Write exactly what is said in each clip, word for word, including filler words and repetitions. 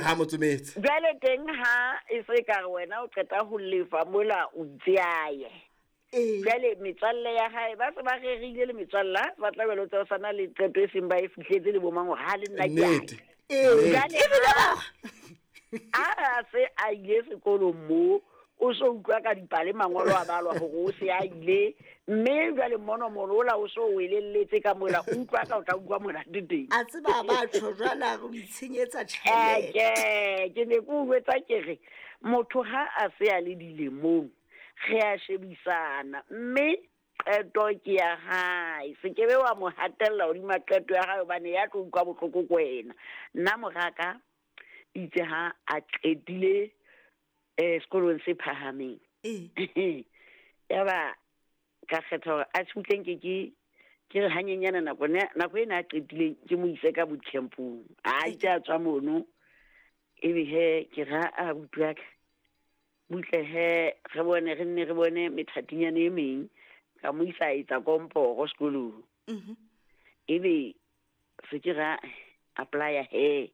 Ha motsometse. Jwale teng ha e se ka re wena o qeta ho lefa mola o itse a ye. Ee. Jwale metswalle ya hae ba se ba rerile le metswalle ha ba tla belo tsa sana le qeto e seng ba e fihletse le bomang hore ha le nna ke a Nnete. ya. Ee. Jwale Ebile ha ba- a se a ile sekolong mo o so utlwa ka dipale mangolo a balwa hore o se a ile mme jwale mmonomono ola o so o elelletse ka mola o utlwa ka o tla utlwa monate teng. A tseba ba tjho jwale a re o itshenyetsa tjhelete. Eke ke ne ke o jwetsa ke re motho ha a se a le dilemong re a shebisana mme qeto ke ya hae, se ke be wa mo hatella hodima qeto ya hae hobane ya tlo utlwa bohloko ke wena. Nna moraka itse ha a qetile eh sekolong se phahameng. Ee. Ya ba ka kgetha hore a tjhutleng ke ke ke re hanyenyana nako ne nako ena a qetileng ke mo ise ka boot campong. A itse a tswa mono ebe he ke ra a abuti wa ka butle he re bone re nne re bone methatinyana e meng ka mo isa a etsa komporo sekolong. Mhm. Ebe se ke ra apply-a he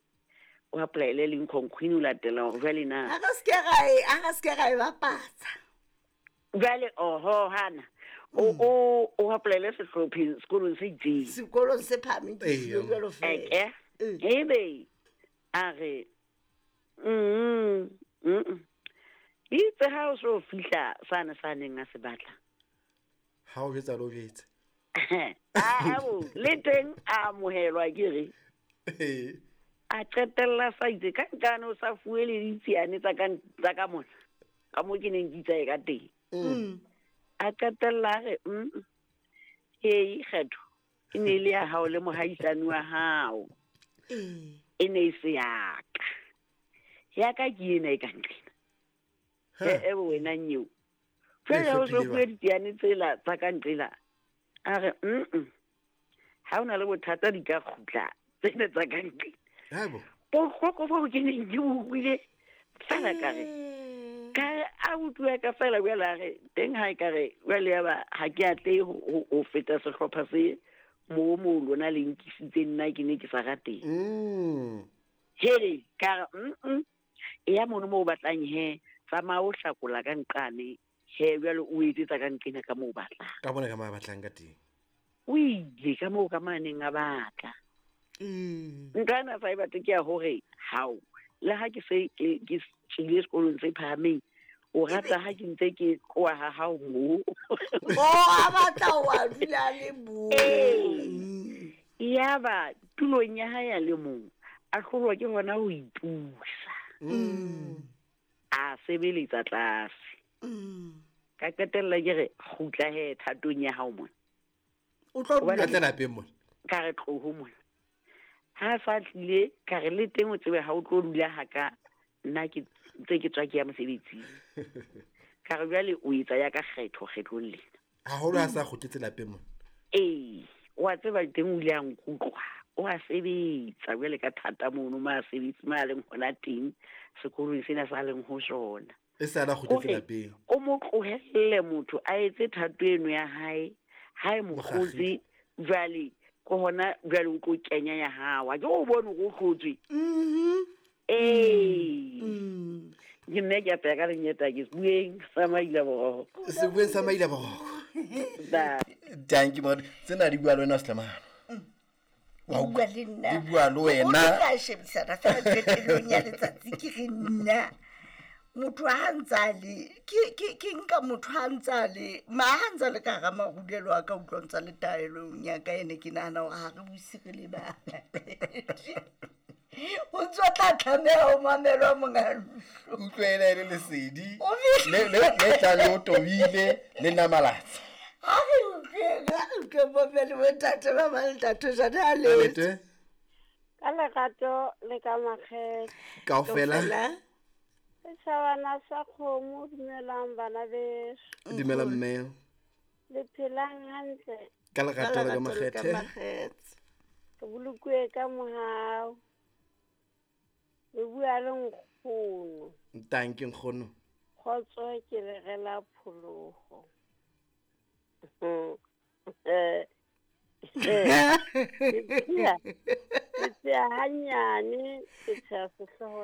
o apply-ele Lincoln Queen o latela hore jwale na Ha re se ke ra e, ha re se ke ra e bapatsa. Jwale oho hana o o o apply-ele sehlopheng sekolong se itseng. Sekolong se phahameng ke Ee. hlile jwalo feela. Eke. Ee. Ebe a re mm mm itse ha o so fihla sane sa neng a se batla. Ha o jwetsa le o jwetse. A bo le teng a amohelwa ke re. Ee. A qetella sa itse ka nkane o sa fuwe le ditsiane tsa ka tsa ka mona. Ka mo ke neng ke itsae ka teng. Mm. A qetella a re mm hei kgetho e ne e le ya hao le mohaisane wa hao. Ee. E ne e se ya ka. Ya ka ke ena e ka nqena. Ha. E, e wena nyeo. Jwale ha o so hlophile fuwe ba. ditsiane tsela tsa ka nqela. A re mm ha o na le bothata di ka kgutla tsena tsa ka nqela. Ha bo. Bohloko boo ke neng ke bo utlwile fela ka re ka re a utlwa ka fela jwale a re teng ha e ka re jwale ya ba ha ke atlehe ho, ho, ho feta sehlopha se moo moo lona le nkisitse nna ke ne ke sa rateng. Mm. Hele ka re mm e ya mono moo o batlang he tsamaya o hlakola ka nqane he jwale o etsetsa ka nqena ka moo o batlang. Ka bona ka moo a batlang ka teng. O ile ka moo ka maneng a batla. Mm. Ntho ena sa e batle ke ya hore hao le ha ke se ke ke tswile sekolong se phahameng o rata ha ke ntse ke tloha ha hao moo. O a batla wa dula le mong. Ee. Yaba tulong ya hae a le mong a hlolwa ke hona ho ipusa. Mm. A sebeletsa tlase. Mm. Ka qetella ke re kgutla he thatong ya hao mona. O tlo Hobane Ka dula tla lapeng mona. Ka re tloho mona. Ha sa tlile ka re le teng o tsebe ha o tlo dula ha ka nna ke ntse ke tswa ke ya mosebetsing. Ka re jwale o etsa ya ka kgetho kgetlong lena. Haholo ha sa kgutletse lapeng mona. Ee, wa tseba teng o ile a nkutlwa. O a sebetsa jwale ka thata mono ma sebetsi ma leng hona teng sekolong sena sa leng ho sona. E sa la kgutletse Hore lapeng. o mo tlohelle motho a etse thato eno ya hae, ha e mo Mokgakgile. kgotse jwale ke hona jwale o tlo kenya ya hao. Ha ke o bone hore o hlotswe. Mhm. Ee. Mm. Ke nna ke apeya ka lenyeta ke sebueng sa Maila Boroko. Sebueng sa Maila Boroko. Ba. Thank you, moradi. Tsena di bua le wena Slemano. Wa Di utlwa? bua le nna. Di bua le wena. O tla shebisana fela qetellong ya letsatsi ke re nna. Motho ha ntse a le, ke, ke, ke nka motho ha ntse a le, ma ha ntse a le ka hara marulelo a ka utlwa ntse a le taelong ya ka ene ke nahana hore ha re buse re le bana. O ntso tla tlameha ho mamelwa monga ntlo. Utlwela e le lesedi. O fihle. Le, le, le tla le o tobile, le namalatsa. Ha re utlweng, ha re utlweng bomme le bontate ba bang le ntate Jane a letse. Lete. Ka lerato le ka makgethe. Kaofela. Kaofela. Setjhabana sa kgomo, dumelang bana beso. Dumela mme. Le phelang hantle. Ka lerato le ka Ka lerato le ka makgethe. makgethe. Re bolokuwe ka mohau. Le bua le nkgono. Thank you nkgono. Kgotso ke le rela pholoho. Eh, eh, ke tsheha, ke tsheha hanyane, ke tsheha sehlooho.